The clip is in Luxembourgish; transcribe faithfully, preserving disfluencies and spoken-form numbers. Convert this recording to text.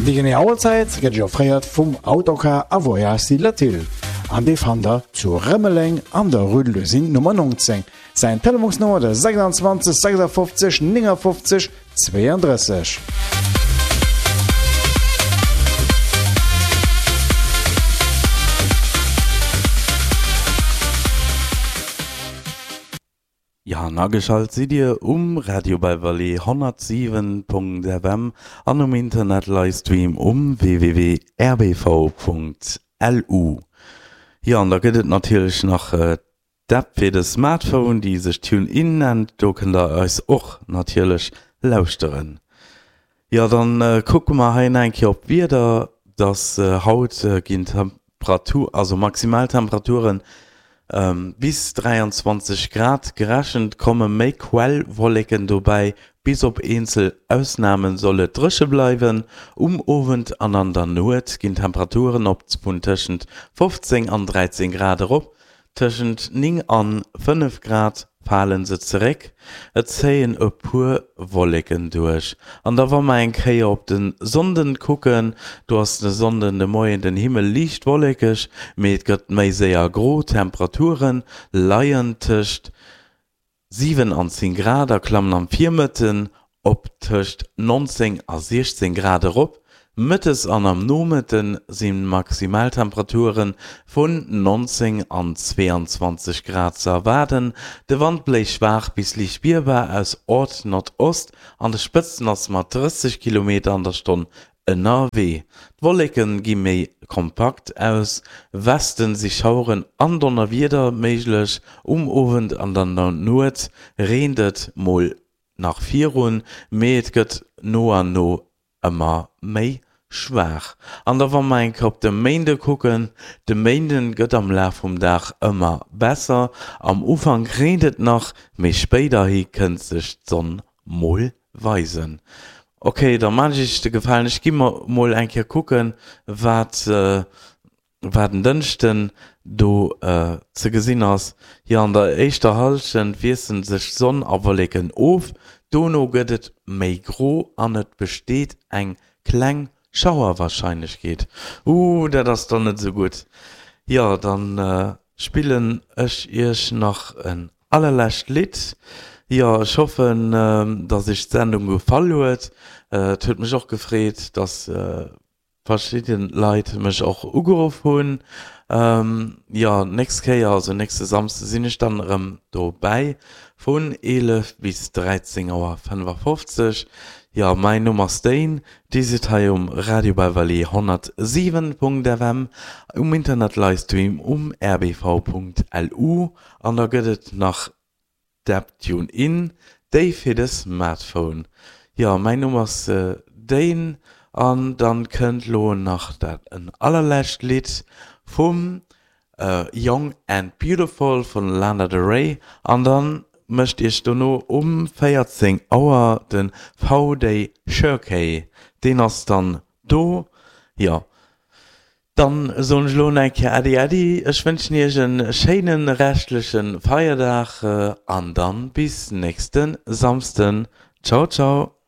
Déi genee Auerzäit gëtt Iech offréiert vum Autocar a Voyage Latil an dee fannt der zu Rëmeleng an der Rue de l'Usine Nummer neunzéng. Säin Telefonsnummer de sechsundzwanzeg sechsundfünfzig neunundfünfzig zweiunddrësseg. Jo, an ageschalt sidd Dir um Radio Beverly honnertsiwen Punkt F M an um Internet Livestream um w w w punkt r b v punkt l u. Jo, an da gëtt et natierlech nach d'App fir de Smartphone, déi sech TuneIn nennt. Do kënnt der eis och natierlech lauschteren. Jo, dann kucke mer hei nach eng Kéier op d'Wieder, dass haut ginn Temperatur, also Maximaltemperaturen bis dräianzwanzeg Grad gerechent, komme méi Quellwolleken dobäi, bis op eenzel Ausname soll et dréche bleiwen. Um Owend an an der Nuet ginn d'Temperaturen op vun tëschent fofzéng an dräizéng Grad erop, tëschent néng an fënnef Grad fale se zeréck, et zéien e puer Wolleken duerch. An da wa mer eng Kéier op de Sonnden kucken, do ass de Sonnden de Moien den Himmel liicht wollekeg, mee et gëtt méi séier gro. D'Temperature leien tëscht siwen an zéng Grad a klammen am Virmëtten op tëscht nonzéng a siechzéng Grad erop. Mëttes an am Nomëtte si Maximaltemperature vun nonzéng an zweeanzwanzeg Grad ze erwaarden. De Wand bléist schwaach bis liicht spierbar aus Ord-Nordost, an de Spëtzen ass mat drësseg Kilometer an der Stonn ënnerwee. D'Wolleke gi méi kompakt, aus Westen si Schaueren an Donnerwieder méiglech. Um Owend an an der Nuet reent et mol nach virun, mee et gëtt no an no ëmmer méi schwaach. An da wa mer eng Kéier op de Méinde kucken, de Méinde gëtt am Laf vum Dag ëmmer besser, am Ufank reent et nach, mee spéiderhi kënnt sech d'Sonn mol weisen. Ok, da maan ech iech de Gefalen, ech gi mer mol eng Kéier kucken, wat wat en Dënschden do ze gesinn ass. Jo, an der éischter Hallschent wiesselen sech Sonn a Wolleken of, dono gëtt et méi gro an et besteet eng kleng Schauerwarscheinlechkeet. Ooh, dat ass dann net esou gutt. Jo, dann spillen ech iech nach en allerlescht Lidd. Jo, ech hoffen, dass iech d'Sendung gefall huet. Et huet mech och gefreet, dass verschidden Leit mech och ugeruff hunn. Jo, nächst Kéier, also nächste Samsde sinn ech dann erëm dobäi vun eelef bis dräizéng Auer fënnefafofzeg. Jo, mäin Numm ass Dane, Dir sidd hei um Radio Beverly honnertsiwen Punkt F M, um Internet Livestream um r b v punkt l u an da gëtt et nach d'App TuneIn, déi fir de Smartphone. Jo, mäin Numm ass Dane an dann kënnt lo nach dat en allerlescht Lidd vum Young and Beautiful vun Lana Del Rey an dann mécht iech dono um véierzéng Auer de V-Day Shirkey, deen ass dann do. Jo, dann soen ech lo nach eng Kéier Äddi Äddi, ech wënschen iech en schéine reschtleche Feierdag an dann bis nächste Samsden. Ciao ciao.